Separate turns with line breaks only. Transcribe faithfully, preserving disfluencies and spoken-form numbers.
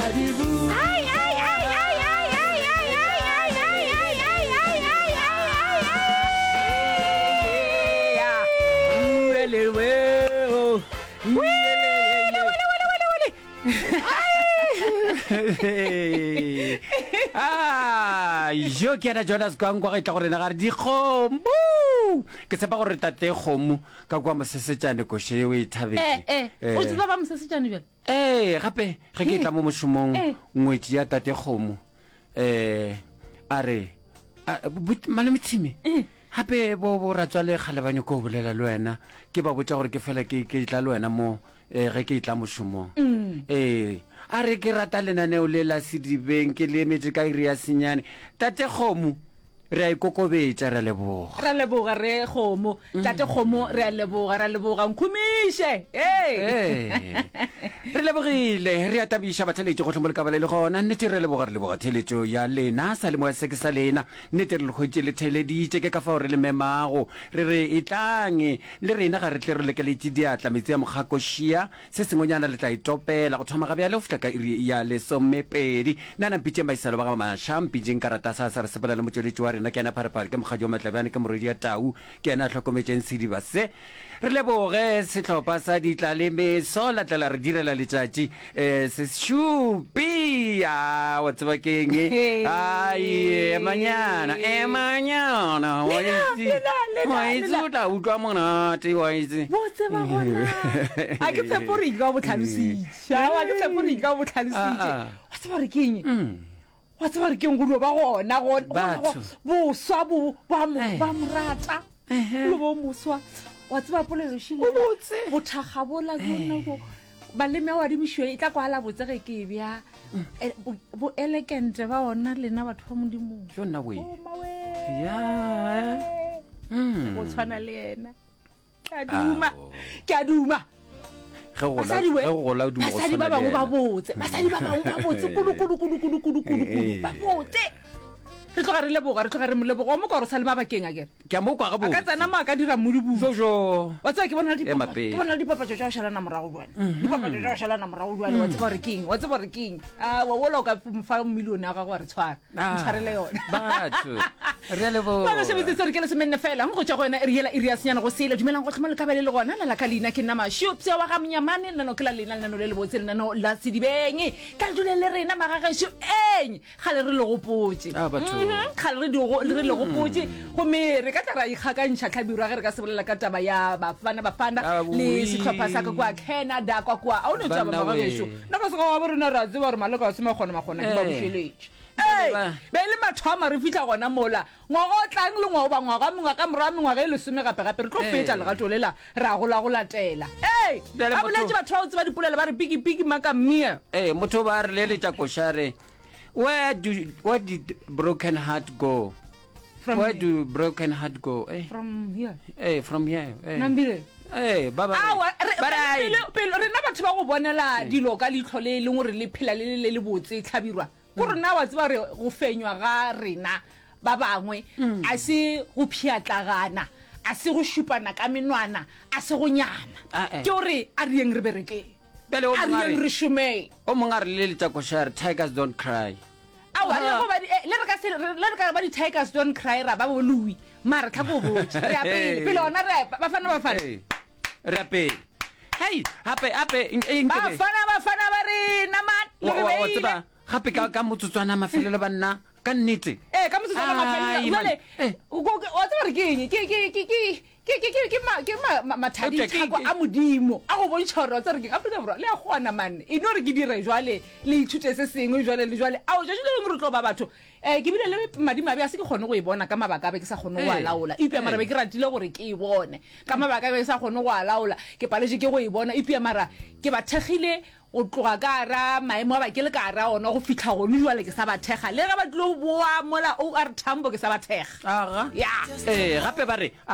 Ai, ai, ai, ai, ai, ai, ai, ai, ai, ai, ai, ai, ai, ai, ai, ai, ai. Wele, wele, wele, wele, wele.
Ah, yo ke yena Jonas Kwankwa ge tla go rena ga re dikgomo. Ke tshepa gore tate kgomo ka kwa mosesetšane koše yeo e thabetše.
Eh, eh, o tseba ba mosesetšane bjale?
Ee, gape ge ke tla mo mošomong
Eh.
ngwetši ya tate kgomo um a re a- but- malome Tshimi
Eh.
gape bo bo ratswale kgale ba nyako go bolela le wena ke ba botša gore ke fela ke ke tla le wena mo eh, ge ke tla mošomong
Mm.
ee a re ke rata lenaneo le la sedibeng ke le emetše ka iri ya senyane tate kgomo re a ikokobetša re a leboga
Ra leboga re kgomo tate kgomo re a leboga ra leboga nkhumiše ee
Ee. re lebogile re a tabiša batheletši gohle mo le ka ba le le gona nnete re leboga re leboga theletšo ya lena sa le moya se ke sa lena nnete re le hwetše le theleditše ke ka fao re le memago re re e tlang le rena ga re tle re lekeletše diatla metsi a mokgakošia se sengwenyana le tla itopela go thoma ga bjale go fihla ka iri ya lesomepedi nna na mpitšeng baisalo ba ga maša mpitšeng karata sa sa re sepela le motšweletši wa rena ke yena pharephare ke mokgadi wa matlabjane ke morwedi ya tau ke yena a hlokometšeng sediba se re leboge sehlopha sa ditlalemeso la tla la re direla letšatši um se šupi a wa tseba ke eng ai emanyana emanyana wa
Lena,
itse
lena, lena,
wa itse
lena.
o tla utlwa monate wa itse
bo tseba gona a ke tshepo gore ka bo tlhalositše a ke tshepo gore ka bo tlhalositše
Ah, ah.
wa tseba gore ke eng wa tseba gore ke eng go dio ba gona gona- gona-
Batho.
boswa bo ba mo
Eh.
ba mo rata lo bo moswa wa tseba polelo
O botse.
bothakga bola bona bo baleme a adimišiwa e tla kwala botse ge ke e bja Eh, bo- bo elegant ba ona lena batho ba modimong
jo nna we
Oh, mawe.
ya Mm.
go tshwana le yena ke a duma
Ao.
ke a duma
ge go gola
basadi we
ge go gola o duma go
basadi
tshwana
ba
le
bangwe ba
yena.
botse basadi ba bangwe ba botse kudu-kudu-kudu-kudu-kudu-kudu
Eh.
ba botse re tloga re leboga re tloga re mo leboga o mo ka gore sa le mabakeng a kere
ke a mo kwa
a ka
gabotse
tsena mo a ka dira modibuo
jojo
wa tseba ke bona le
Ema
dipapa-
pele.
ke bona le dipapatso tša go šalana morago jale dipapatso tša go šalana morago jale wa tseba gore keng wa tseba gore keng a wa ola o ka fa millione ya gago wa re tshwara
Ah,
ntshwarele yona
batho re a leboga
ba sebetse re ke lesomenne fela go tšwa go yona iri yela iri ya senyana go sele dumelang go tlhoma le kabele le gona lala ka leina ke nna mašupša wa ga monyamane lenano ke la lena lenano le lebotse lenano la sedibeng ka le dule le rena magagešo eng gale re le gopotše
Ah, batho.
Mhm, kgale re di go- re le gopotše gomme re ka tla ra ikgakantšha tlhabirwa ge re ka se bolela ka taba ya bafana bafana
Ah,
le
oui.
sehlopha sa ka kua canada kwa kua a o ne taba
Banna we.
magagešo nna ka seka wa bo rena re a tseba gore maleka a se makgona makgona ke ba
Eh.
bušeletše Ee,
Ba-
be e le mathomo re fitlha gona mola ngwaga o tlang le ngwaga oba ngwaga mengwe ka morago mengwaga e lesome gape-gape re tlo
Ee.
fetša legato lela ra gola go latela ee
Bjale
ba
motho-
boletse batho ba go tseba dipolelo ba re piki-piki maka mmia
ee motho ba re leletša košare where do where did broken heart go
From
where
here.
do broken heart go eh
from here
eh from here eh
nambile
eh ba ba re-
awa re-
ba re ai.
pele- pele rena batho ba go bonela dilo ka leitlho le e leng gore le phela le le le le botse tlhabirwa ko rena wa tseba re go fenywa ga rena ba bangwe a se go pšhatlagana a se go šupana ka menwana a se go nyama
Ah, eh.
ke gore a reyeng re berekeng
Bjale o
a
mongwe a
reyeng
re-
re šomeng
o mongwe a re leletša košare tigers don't cry
aowa le
Ah.
go ba di- eh, le re ka se- re- le re ka ba di-tigers don't cry ra ba bo louis mare tlhako o botse re ya pele pele ona re a- bafana bafana
Ee, re ya pele hei gape gape nkebe
bafana bafana ba rena man le re
wa
beile
tseba gape ka ka motsotswana mafelelo banna ka nnete
ee ka motsotswana mafelelo
Ai,
jale
man. Eh.
o ko- wa tseba gore ke eng ke ke ke ke ke ke ke ke ma- ke ma- ma-
Eupša ke-
mathadithako
ke-
a modimo a go bontšha gore wa tseba gore ke eng, Afrika Borwa le a kgona manne e no re ke dire jwale le ithute se sengwe jwale le jwale ao tšatši le lengwe re tlo ba batho um ke bile le madimabe a se ke kgone go e bona ka mabaka a be ke sa kgone go a
Eh.
laola eupša mara
Eh.
be ke ratile gore ke e bone ka mabaka a be ke sa kgone go a laola ke paletše ke go e bona eupša mara ke ba thekgile go tloga ka gara maemo a ba ke le ka gara ona go fitlha gone jwale ke sa ba thekga le ge ba tlilo boa mola o r tambo ke sa ba thekga
aga
ya
ee gape ba re